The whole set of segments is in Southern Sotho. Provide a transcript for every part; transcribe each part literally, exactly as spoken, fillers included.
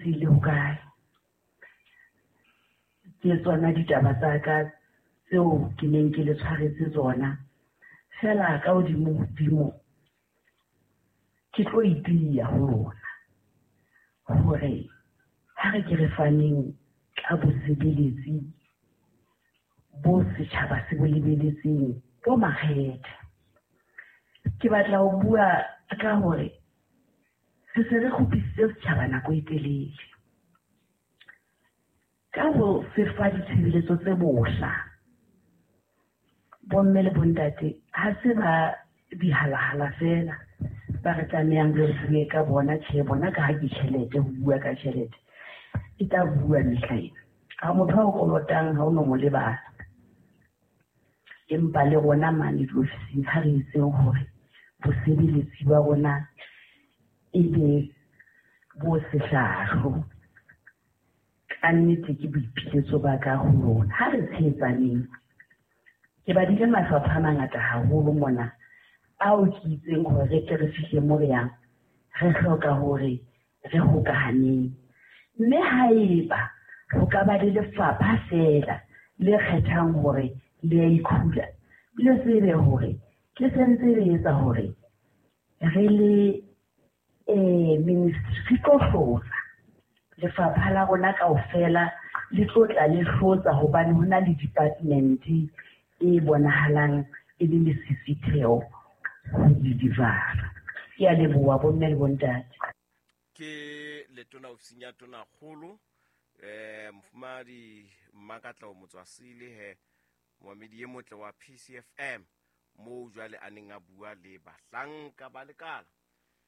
Le hokae. Ke tsona ditaba tsa ka tseo ke neng ke le tshwaretse tsona. Feela ka hodimo hodimo ke tlo itiya ho lona hore ha re ke re faneng ka bosebeletsi bo setjhaba se bo lebeletseng bo makgethe. Ke batla ho bua ka hore re se re kgupisitse setjhaba nako e telele ka ho se fa ditshebeletso tse bohla. Bomme le bontate ha se ba dihalahala feela ba re tlamehang re bue ka bona. Tjhe, bona ka ha ke tjhelete, ho bua ka tjhelete e tla bua mehla ena. Ha motho a o kolotang ha o no mo lebala. Empa le rona mane diofising ha re etseng hore bosebeletsi ba rona e be bo sehlahlo. Ka nnete ke boipiletso ba ka ho lona. Ha re tshehetsaneng. Ke badile mafapha a mangata haholo mona ao ke itseng hore re tle re fihle mo re yang, re hloka hore re hokahaneng. Mme haeba ho ka ba le lefapha feela le kgethang hore le a ikhula, le tsebe hore le sentse le etsa hore re le eh ministry re tlo hlotsa. Lefapha la rona kaofela le tlo tla le hlotsa hobane ho na le department e bonahalang e le lesisitheho ho di-deliver-a. Ke a leboha bomme le bontate. Ke letona ofising ya tonakgolo eh mofumahadi Mmakatleho Motswasele he moamedi e motle wa P C F M moo jwale a neng a bua le bahlanka ba lekala.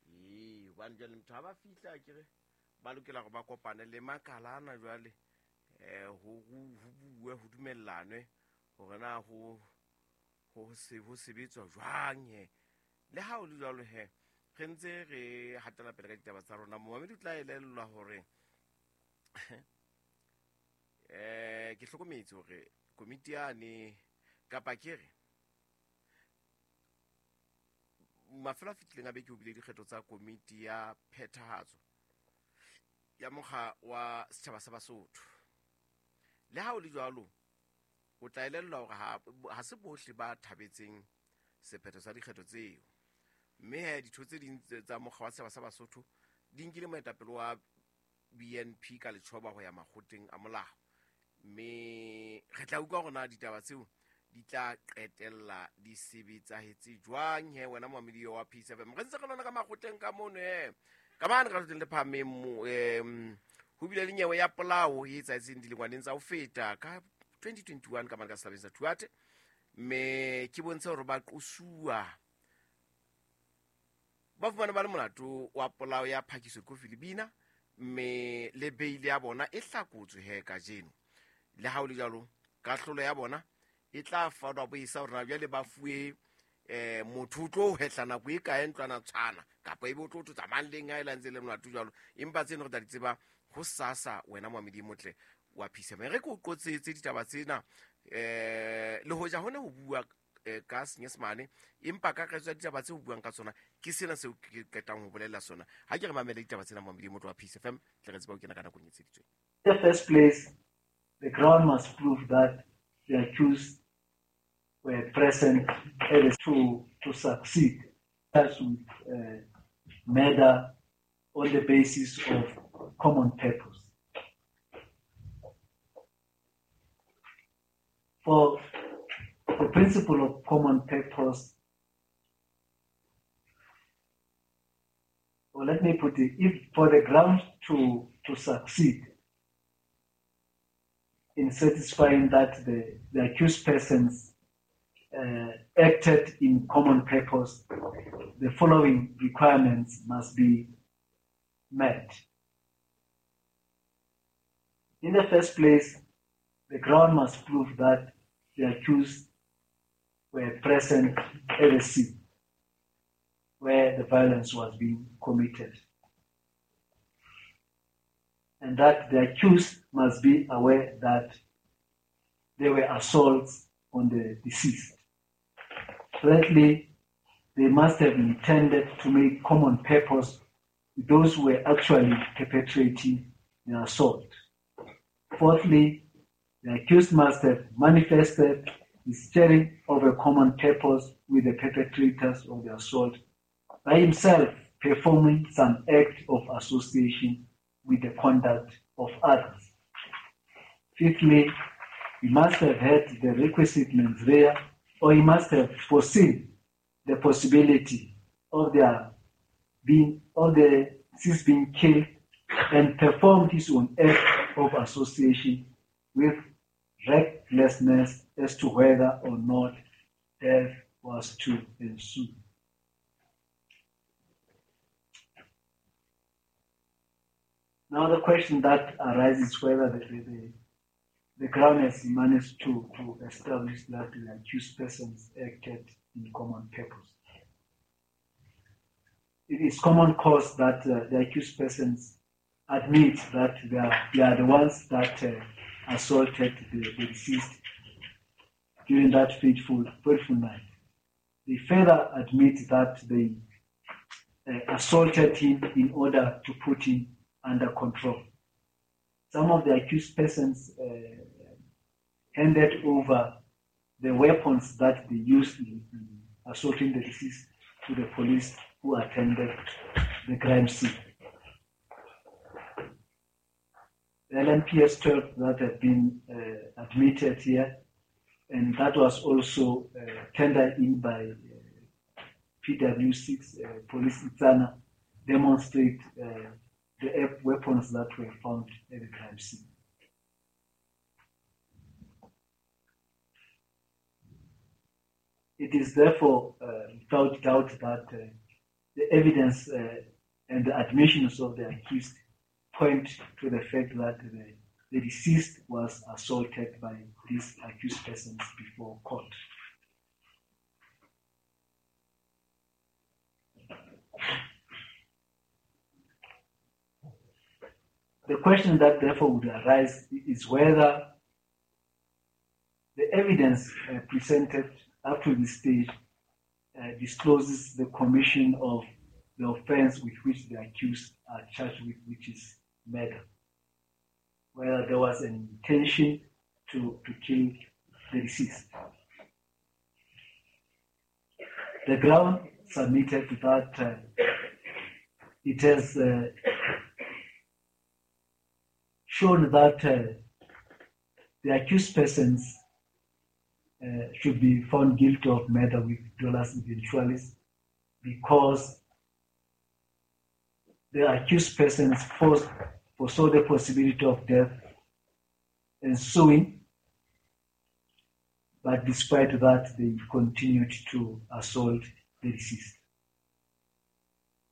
Ee, hobane jwale motho ha ba fihla akere ba lokela hore ba kopane le makala ana jwale eh ho ho bue ho dumellanwe hore na ho ho se ho sebetswa jwang he. Le ha o le jwalo he re ntse re hatela pele ka ditaba tsa rona. Momamedi o tla elellwa hore eh ke hlokometse hore komiti yane kapa ke re mafelo a fetileng a beke ho bile dikgetho tsa komiti ya phethahatso ya mokga wa setjhaba sa Basotho. Le ha o le jwalo o tla elellwa hore ha, ha se bohle ba thabetseng sephetho sa dikgetho tseo. Mme he ditho tse ding tsa mokga wa setjhaba sa Basotho di nkile moetapele wa B N P ka letjhoba ho ya makgotleng a molao. Mme re tla utlwa hore na ditaba tseo di tla qetella di sebetsahetse jwang he wena moamedi wa P seven. Re ntse re lona ka makgotleng ka mono he. Ka mane ka lekgotleng le phahameng mo, em, ho bile le nyewe ya polao e etsahetseng dilengwaneng tsa ho feta ka twenty twenty-one ka mane ka sehlabeng sa Thuate. Mme ke bontshe hore ba qosuwa ba fumane ba le molato wa polao ya Phakiso Kofi Lebina, mme le beile ya bona e hlakotswe he kajeno. Le ha ho le jwalo, kahlolo ya bona e tla fanwa bo isa hore na jwale ba fuwe eh motho o tlo hwehla nako e kae ntlwana tshwana kapa ebe o tlo tlo tsamayang leng ha e la ntse le molato jwalo. Empa tseno re tla di tseba ho sasa wena moamedi e motle wa P seven. Re ke o qotsetse ditaba tsena eh le hoja hone ho bua eh, ka Senyesemane, empa ka kakaretso ya ditaba tse ho buang ka tsona ke sena seo ke qetang ho bolella sona. Ha ke re mamele ditaba tsena moamedi e motle wa P C F M, tle re tsebe ho kena ka nakong e tsheditsweng. In the first place, the Crown must prove that the accused were present to, to succeed as with, uh, murder on the basis of common purpose. For the principle of common purpose, or let me put it, if for the ground to, to succeed in satisfying that the, the accused persons, uh, acted in common purpose, the following requirements must be met. In the first place, the Crown must prove that the accused were present at the scene where the violence was being committed, and that the accused must be aware that there were assaults on the deceased. Thirdly, they must have intended to make common purpose with those who were actually perpetrating the assault. Fourthly, the accused must have manifested the sharing of a common purpose with the perpetrators of the assault by himself performing some act of association with the conduct of others. Fifthly, he must have had the requisite mens rea, or he must have foreseen the possibility of their being, of the deceased being killed, and performed his own act of association with recklessness as to whether or not death was to ensue. Now the question that arises is whether the, the, the Crown has managed to, to establish that the accused persons acted in common purpose. It is common cause that uh, the accused persons admit that they are, they are the ones that uh, assaulted the, the deceased during that fateful, fateful night. They further admit that they uh, assaulted him in order to put him under control. Some of the accused persons uh, handed over the weapons that they used in, in assaulting the deceased to the police who attended the crime scene. The L M P S twelve that have been uh, admitted here, and that was also uh, tendered in by uh, P W six, uh, Police Itsana, demonstrate uh, the weapons that were found at the crime scene. It is therefore uh, without doubt that uh, the evidence uh, and the admissions of the accused point to the fact that the, the deceased was assaulted by these accused persons before court. The question that therefore would arise is whether the evidence uh, presented up to this stage uh, discloses the commission of the offense with which the accused are charged with, which is murder. Whether there was an intention to, to kill the deceased. The ground submitted to that, uh, it has uh, shown that uh, the accused persons uh, should be found guilty of murder with dolus eventualis, because the accused persons forced, foresaw the possibility of death ensuing, but despite that, they continued to assault the deceased.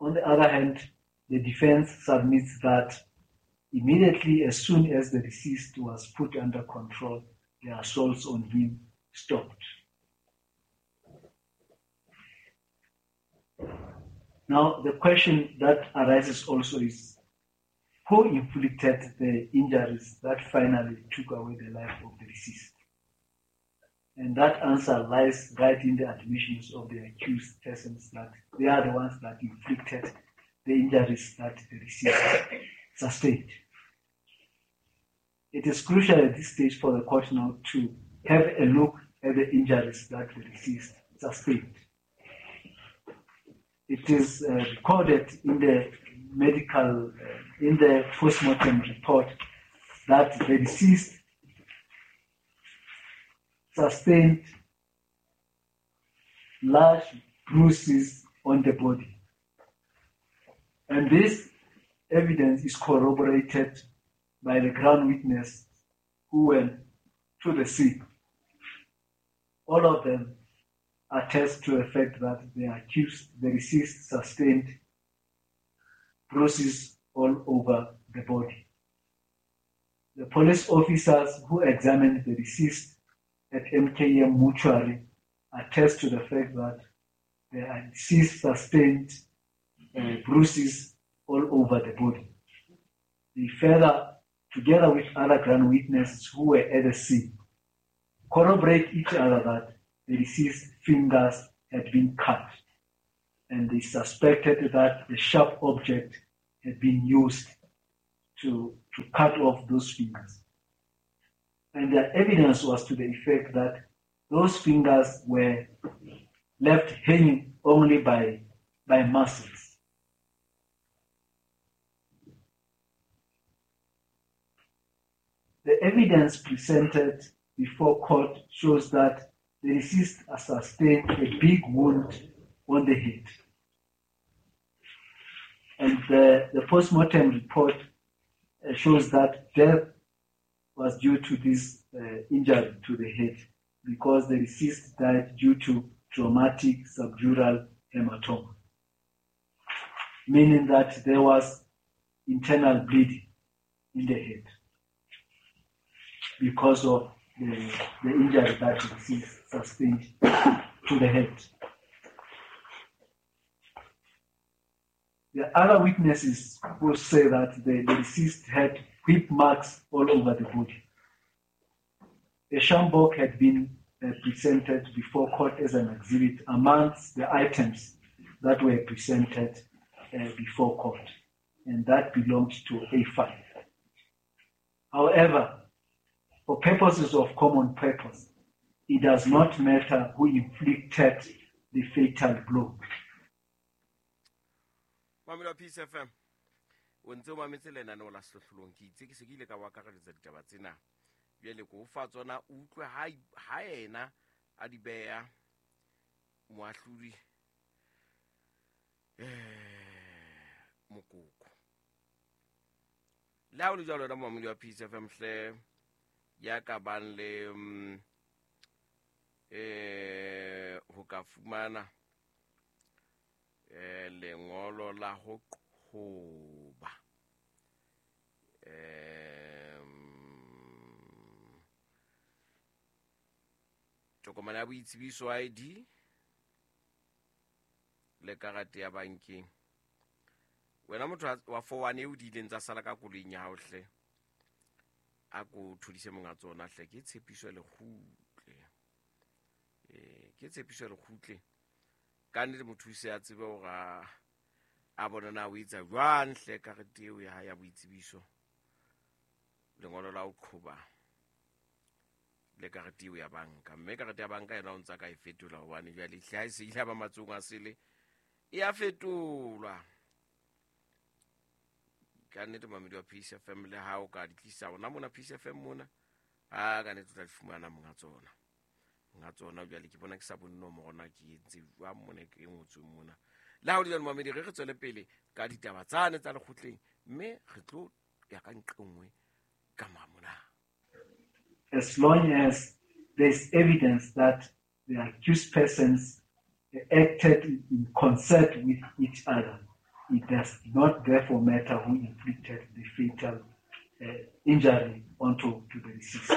On the other hand, the defense submits that immediately as soon as the deceased was put under control, the assaults on him stopped. Now, the question that arises also is, who inflicted the injuries that finally took away the life of the deceased? And that answer lies right in the admissions of the accused persons that they are the ones that inflicted the injuries that the deceased sustained. It is crucial at this stage for the court now to have a look at the injuries that the deceased sustained. It is uh, recorded in the medical, uh, in the postmortem report that the deceased sustained large bruises on the body. And this evidence is corroborated by the ground witness who went to the scene. All of them attest to the fact that the accused, the deceased, sustained bruises all over the body. The police officers who examined the deceased at M K M mortuary attest to the fact that the deceased sustained uh, bruises all over the body. They further, together with other ground witnesses who were at the scene, corroborate each other that the deceased's fingers had been cut, and they suspected that the sharp object had been used to to cut off those fingers. And the evidence was to the effect that those fingers were left hanging only by, by muscles. The evidence presented before court shows that the deceased has sustained a big wound on the head. And the, the post-mortem report uh, shows that death was due to this uh, injury to the head, because the deceased died due to traumatic subdural hematoma, meaning that there was internal bleeding in the head because of the, the injury that the deceased sustained to the head. The other witnesses who say that the, the deceased had whip marks all over the body. A sjambok had been uh, presented before court as an exhibit amongst the items that were presented uh, before court, and that belonged to A five. However, for purposes of common purpose, it does not matter who inflicted the fatal blow. Mamela Peace F M. O ntse o mametse lenaneo la Sehlohlolong. Ke itse ke se ke ile ka o akareletsa ditaba tsena. Jwale ko o fa tsona, o utlwe ha, ha yena a di beha moahlodi, eh, Mokoko. Le ha o le jwalo wena momamedi wa Peace F M hle, ya ka bang le, mm, eh, ho ka fumana, eh, lengolo la ho qhoba, eh, tokomane ya boitsebiso I D le karate ya bankeng. Wena motho wa four one eo di ileng tsa sala ka koloing ya hao hle, a ko thodise monga tsona hle, ke tshepiso ya lekgutle. Eh, ke tshepiso ya lekgutle. Ka nnete motho o se a tsebe hore a, a bona na o etsa jwang hle karete eo ya hae ya boitsebiso, lengolo la ho qhoba le karete eo ya banka. Mme karete ya banka yona o ntsa ka e fetola, hobane jwale hle ha e se ile ba matsohong a sele, e a fetolwa. Ka nnete momamedi wa Peace F M, le ha o ka di tlisa hona mona Peace F M mona, ha ka nnete o tla di fumana monga tsona. Monga tsona jwale ke bona ke sa bone nomoro na ke entse jwang mona, ke e ngotsweng mona. Le ha o le jwalo momamedi, re re tswele pele ka ditaba tsane tsa lekgotleng, mme re tlo ya ka nqe nngwe ka mora mona. As long as there's evidence that the accused persons acted in concert with each other, it does not therefore matter who inflicted the fatal, uh, injury onto to the deceased.